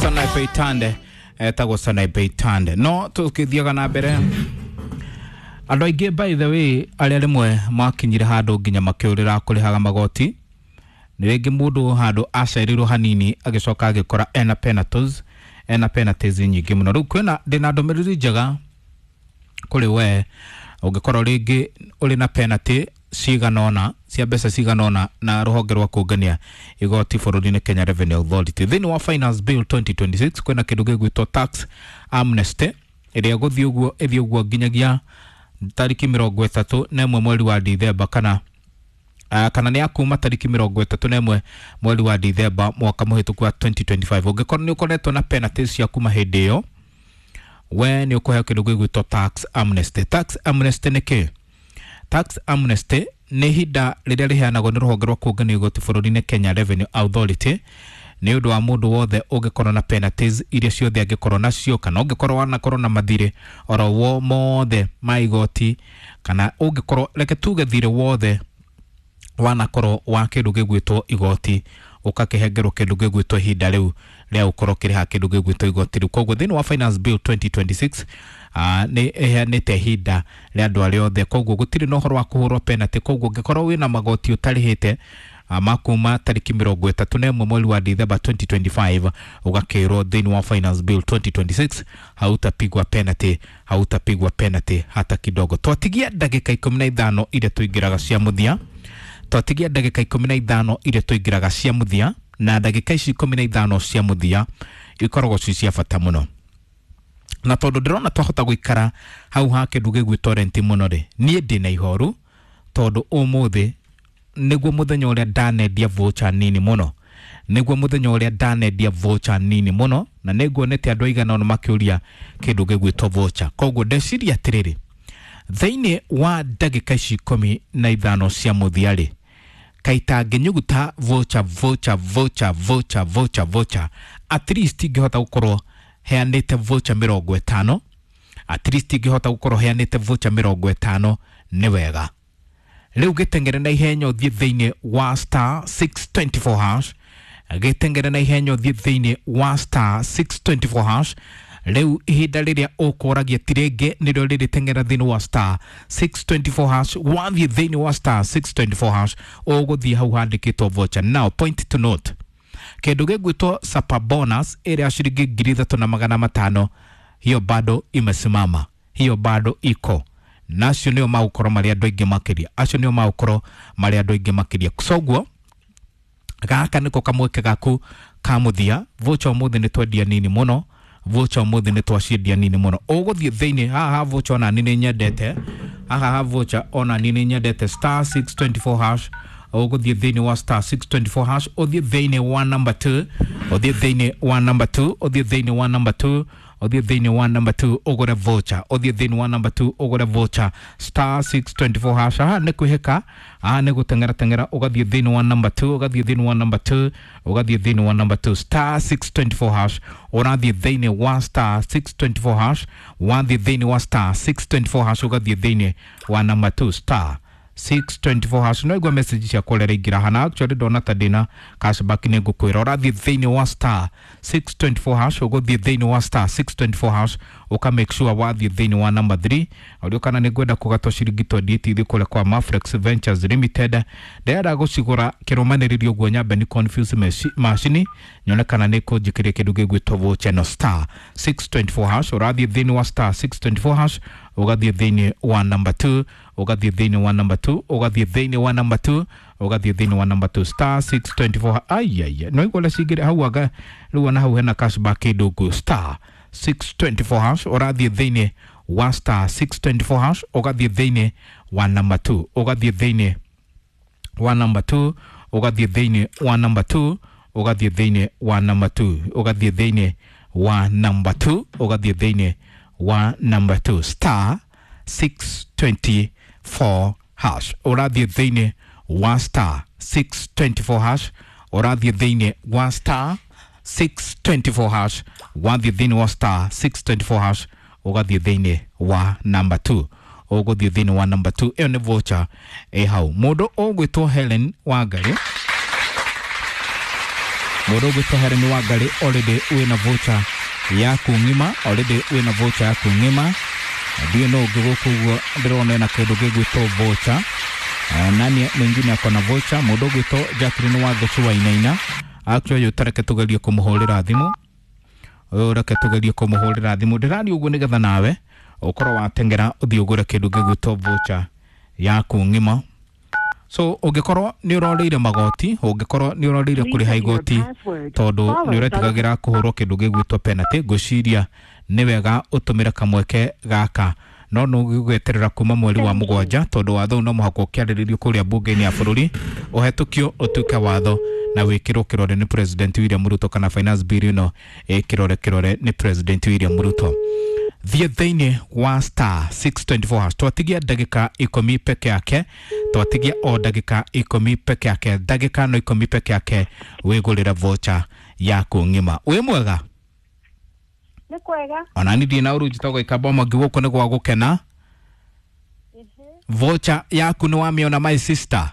Sanaipei Tande, etagwo Sanaipei Tande. No tũkĩthiaga na mbere, andũ aingĩ, by the way, arĩa rĩmwe makinyire handũ nginya makĩũrĩra kũrĩhaga magoti, nĩ rĩngĩ mũndũ handũ acereirwo hanini agĩcoka agĩkora ena penalties, ena penalties nyingĩ mũno. Rĩu kwĩna, ndĩna ndũmĩrĩri njega kũrĩ we ũngĩkorwo rĩngĩ ũrĩ na penalty cigana ũna cia mbeca cigana ũna na rũhonge rwa kũngania igoti bũrũri-inĩ, Kenya Revenue Authority. Thĩinĩ wa Finance Bill 2026 kwĩna kĩndũ gĩgwĩtwo tax amnesty ĩrĩa ĩgũthiĩ ũguo, ĩthiĩ ũguo nginyagia tariki 31 mweri wa Dithemba, kana kana nĩ ya kuma tariki 31 mweri wa Dithemba mwaka mũhĩtũku wa 2025. Ũngĩkorwo nĩ ũkoretwo na penalties cia kuma hĩndĩ ĩyo, we nĩ ũkũheo kĩndũ gĩgwĩtwo tax amnesty. Tax amnesty nĩ kĩ? Tax amnesty nĩ ihinda rĩrĩa rĩheanagwo nĩ rũhonge rwa kũngania igoti bũrũri-inĩ, Kenya Revenue Authority, nĩ ũndũ wa mũndũ wothe ũngĩkorwo na penalties iria ciothe angĩkorwo nacio, kana ũngĩkorwo wanakorwo na mathirĩ oro wo mothe ma igoti, kana ũngĩkorwo, reke tuge, thirĩ wothe wanakorwo wa kĩndũ gĩgwĩtwo igoti, ũgakĩhengerwo kĩndũ gĩgwĩtwo ihinda rĩu rĩa gũkorwo ũkĩrĩha kĩndũ gĩgwĩtwo igoti rĩu. Koguo thĩinĩ wa Finance Bill 2026 nĩ ĩheanĩte ihinda rĩa andũ arĩa othe, koguo gũtirĩ na ũhoro wa kũhũrwo penalty. Koguo ũngĩkorwo wĩna magoti ũtarĩhĩte ma kuma tariki 31 mweri wa Dithemba 2025, ũgakĩrwo thĩinĩ wa Finance Bill 2026 hautapigwa penalty, hautapigwa penalty hata kidogo. Twatigia ndagĩka 15 iria tũingĩraga cia mũthia, twatigia ndagĩka 15 iria tũingĩraga cia mũthia, na ndagĩka ici 15 cia mũthia ikoragwo ci cia bata mũno, na tondũ ndĩrona twahota gũikara hau ha kĩndũ gĩgwĩtwo rent mũno rĩ, niĩ ndĩna ihoru tondũ ũmũthĩ nĩguo mũthenya ũrĩa ndanendia voucher nini mũno, nĩguo mũthenya ũrĩa ndanendia voucher nini mũno, na nĩnguonete andũ aigana ũna makĩũria kĩndũ gĩgwĩtwo voucher. Koguo ndeciria atĩrĩrĩ, thĩinĩ wa ndagĩka ici 15 cia mũthia rĩ, kaita ngĩnyuguta voucher, voucher, voucher, voucher, voucher, voucher, at least ingĩhota gũkorwo heanĩte voucher 50, at least ingĩhota gũkorwo heanĩte voucher 50 nĩ wega. Rĩu gĩteng'ere na ihenya ũthiĩ thĩinĩ wa star 624 hash, gĩteng'ere na ihenya ũthiĩ thĩinĩ wa star 624 hash. Rĩu ihinda rĩrĩa ũkũragia ti rĩngĩ, nĩrĩo rĩrĩ. Teng'era thĩinĩ wa star 624 hash. Wathiĩ thĩinĩ wa star 624 hash, ũgũthiĩ hau handĩkĩtwo voucher. Now, point to note, kĩndũ gĩgwĩtwo super bonus ĩrĩa ya ciringi 3500, hiyo bado imesimama, hiyo bado iko, na acio nĩo magũkorwo marĩ andũ aingĩ makĩria, acio nĩo magũkorwo marĩ andũ aingĩ makĩria. Soguo gaka nĩko kamweke gaku ka mũthia. Voucher ũmũthĩ nĩ twendia nini mũno, voucher ũmũthĩ nĩ twaciendia nini mũno. Ũgũthiĩ thĩinĩ haha ha voucher, ona niĩ nĩ nyendete haha ha voucher, ona niĩ nĩ nyendete star 624 hash. Ũgũthiĩ thĩinĩ wa star 624 hash, ũthiĩ thĩinĩ wa number 2, ũthiĩ thĩinĩ wa number 2, ũthiĩ thĩinĩ wa number 2, ũthiĩ thĩinĩ wa number 2 ũgũre voucher, ũthiĩ thĩinĩ wa number 2 ũgũre voucher, star 624 hash. Haha nĩ kwĩhĩka, haha nĩ gũteng'era teng'era, ũgathiĩ thĩinĩ wa number 2, ũgathiĩ thĩinĩ wa number 2, ũgathiĩ thĩinĩ wa number 2, star 624 hash. Ũrathiĩ thĩinĩ wa star 624 hash, wathiĩ thĩinĩ wa star 624 hash, ũgathiĩ thĩinĩ wa number 2, star 624 hash. No igua message ciakwa ũrĩa iraingĩra hana. Actually ndona ta ndĩna cashback, nĩ ngũkwĩra. Ũrathiĩ thĩinĩ wa star 624 hash, ũgũthiĩ thĩinĩ wa star 624 hash, ũka make sure wathiĩ thĩinĩ wa number 3. Ũrĩa kana nĩ ngwenda kũgatwo ciringi 28 ithiĩ kũrĩa kwa Maflex Ventures Limited, ndĩrenda gũcigũra kĩrũmanĩrĩrio ũguo, nyambe ni confuse macini nyone kana nĩ kũnjĩkĩria kĩndũ gĩgwĩtwo voucher. No star 624 hash, ũrathiĩ thĩinĩ wa star 624 hash, ũgathiĩ thĩinĩ wa number 2, ũgathiĩ thĩinĩ wa number 2, ũgathiĩ thĩinĩ wa number 2, ũgathiĩ thĩinĩ wa number 2, star 624. Aiaia, no igua ũrĩa cingĩrĩ hau, anga rĩu ona hau hena cashback kĩndũ. Star 624 hash, ũrathiĩ thĩinĩ wa star 624 hash, ũgathiĩ thĩinĩ wa number 2, ũgathiĩ thĩinĩ wa number 2, ũgathiĩ thĩinĩ wa number 2, ũgathiĩ thĩinĩ wa number 2, ũgathiĩ thĩinĩ wa number 2, ũgathiĩ thĩinĩ wa number 2, star 624 hash. Ũrathiĩ thĩinĩ wa star 624 hash, ũrathiĩ thĩinĩ wa star 624 hash, wathiĩ thĩinĩ wa star 624 hash, ũgathiĩ thĩinĩ wa number 2, ũgũthiĩ thĩinĩ wa number 2. Ĩyo nĩ voucher ĩ hau, mũndũ ũgwĩtwo Helen Wangari. Mũndũ ũgwĩtwo Helen Wangari already wĩna voucher yaku ng'ima, already wĩna voucher yaku ng'ima. Ndiũĩ nũ ũngĩ gũkũ ũguo ndĩrona ena kĩndũ gĩgwĩtwo voucher. Nani mwingine ako na voucher? Mũndũ ũgwĩtwo Jacqueline Wangeci Wainaina, actually ũyũ tareke tũgerie kũmũhũrĩra thimũ, ũyũ reke tũgerie kũmũhũrĩra thimũ. Ndĩraria ũguo nĩgetha nawe ũkorwo wateng'era ũthiĩ ũgũre kĩndũ gĩgwĩtwo voucher yaku ng'ima. So ũngĩkorwo nĩ ũrorĩire magoti, ũngĩkorwo nĩ ũrorĩire kũrĩha igoti tondũ nĩ ũretigagĩra kũhũrwo kĩndũ gĩgwĩtwo penalty, ngwĩciria nĩ wega ũtũmĩre kamweke gaka, no nĩ ũgweterera kuma mweri wa 7 tondũ watho ũyũ no mũhaka ũkĩarĩrĩrio kũrĩa mbunge-inĩ ya bũrũri, ũhetũkio ũtuĩke watho na wĩkĩrwo kĩrore nĩ President William Ruto, kana finance bill ĩno ĩkĩrore kĩrore nĩ President William Ruto. Thiĩ thĩinĩ wa star 624 hash. Twatigia ndagĩka 10 peke yake, twatigia o ndagĩka 10 peke yake, ndagĩka no 10 peke yake wĩgũrĩre voucher yaku ng'ima. Wĩ mwega? Nĩ kwega. Ona ni ndĩ na ũru, njĩtagwo Ikamba Mwangi, gũkũ nĩ gwa gũkena. Voucher yaku nĩ wamĩona, my sister?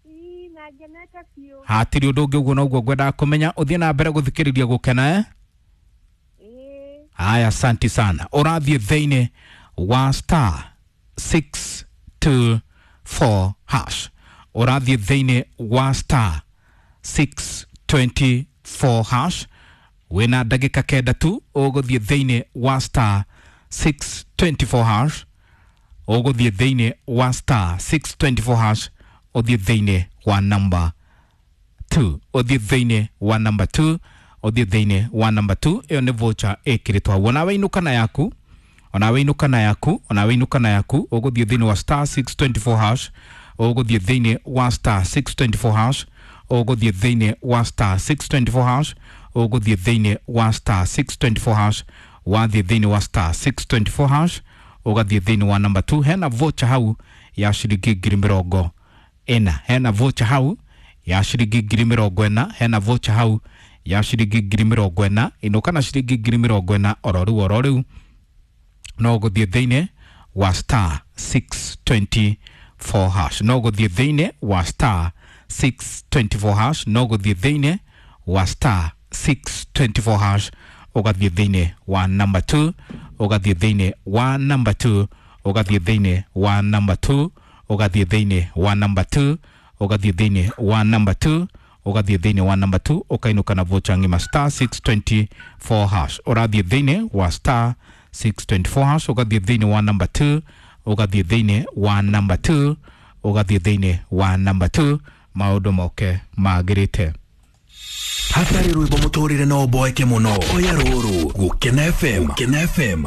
Ii, na ngenete biũ. Hatirĩ ũndũ ũngĩ, ũguo noguo ngwendaga kũmenya. Ũthiĩ na mbere gũthikĩrĩria gũkena, eh? Ĩĩ. Haya, asanti sana. Ũrathiĩ thĩinĩ wa star 624 hash, ũrathiĩ thĩinĩ wa star 624 hash, wĩna ndagĩka 9 tu. Ũgũthiĩ thĩinĩ wa star 624 hash, ũgũthiĩ thĩinĩ wa star 624 hash, ũthiĩ thĩinĩ wa number 2, ũthiĩ thĩinĩ wa number 2, ũthiĩ thĩinĩ wa number 2. Ĩyo nĩ voucher ĩkĩrĩtwo hau. Onawe inũka na yaku, onawe inũka na yaku, onawe inũka na yaku. Ũgũthiĩ thĩinĩ wa star 624 hash, ũgũthiĩ thĩinĩ wa star 624 hash, ũgũthiĩ thĩinĩ wa star 624 hash, ũgũthiĩ thĩinĩ wa star 624 hash. Wathiĩ thĩinĩ wa star 624 hash, ũgathiĩ thĩinĩ wa number 2, hena voucher hau ya ciringi 40,000, hena voucher hau ya ciringi 40,000, hena voucher hau ya ciringi 40,000. Inũka na ciringi 40,000 oro rĩu, oro rĩu. No gũthiĩ thĩinĩ wa star 624 hash, no gũthiĩ thĩinĩ wa star 624 hash, no gũthiĩ thĩinĩ wa star 624 hash, ũgathiĩ thĩinĩ wa number 2, ũgathiĩ thĩinĩ wa number 2, ũgathiĩ thĩinĩ wa number 2, ũgathiĩ thĩinĩ wa number 2, ũgathiĩ thĩinĩ wa number 2, ũgathiĩ thĩinĩ wa number 2, ũkainũka na voucher ng'ima. Star 624 hash, ũrathiĩ thĩinĩ wa star 624 hash, ũgathiĩ thĩinĩ wa number 2, ũgathiĩ thĩinĩ wa number 2, ũgathiĩ thĩinĩ wa number 2, maũndũ moke magĩrĩte. Hatarĩ rwĩmbo mũtũrĩre no ũboeke mũno. Oya rũrũ, Gũkena FM, Gũkena FM.